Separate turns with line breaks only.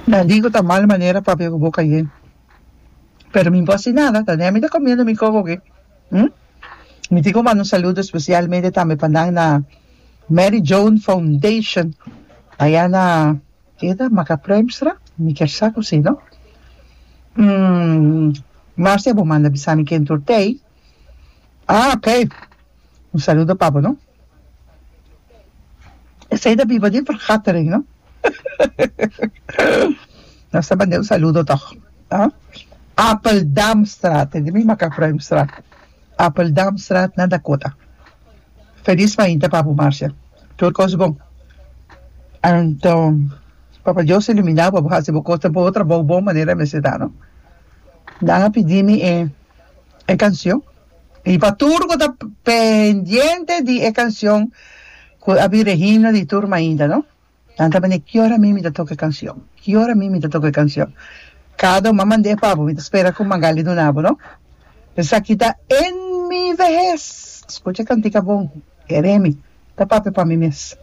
Nan di ku ta mal manera papia ku boka yen. Pero mi no por hasi nada, ta nen mi ta komiendo mi koko aki. Hm? Mi tin ku manda un saludo spesialmente tambe pa nan na Mary Joan Foundation aya na ke ta Macapruimstra? Mi kier sa ku si no. Marcia bo manda bisa mi ken tur tei. Ah ok. Un saludo pa bo no. Esei ta biba di vergatering no. Nos ta manda un saludo toch. Ah? Appeldamstraat, di mi Macapruimstraat. Appeldamstraat na Dakota. Feliz mainta pa bo Marcia. Tur cos bon. Anto Papa Dios ilumina bo, bo haci bo cos bo trabou bon manera mester ta no. Nan a pidi mi e e cancion. Y pa tur cu ta pendiente di e cancion cu a bira e himno di tur mainta no. Nan ta manda ki ora mi mi ta toca e cancion, ki ora mi mi ta toca e cancion. Cada un a mand'é pa bo, mi ta spera cu Magali duna bo no. Esaki ta En mi vehez. Scucha e cantica bon, kere mi, ta papia pa mi mes.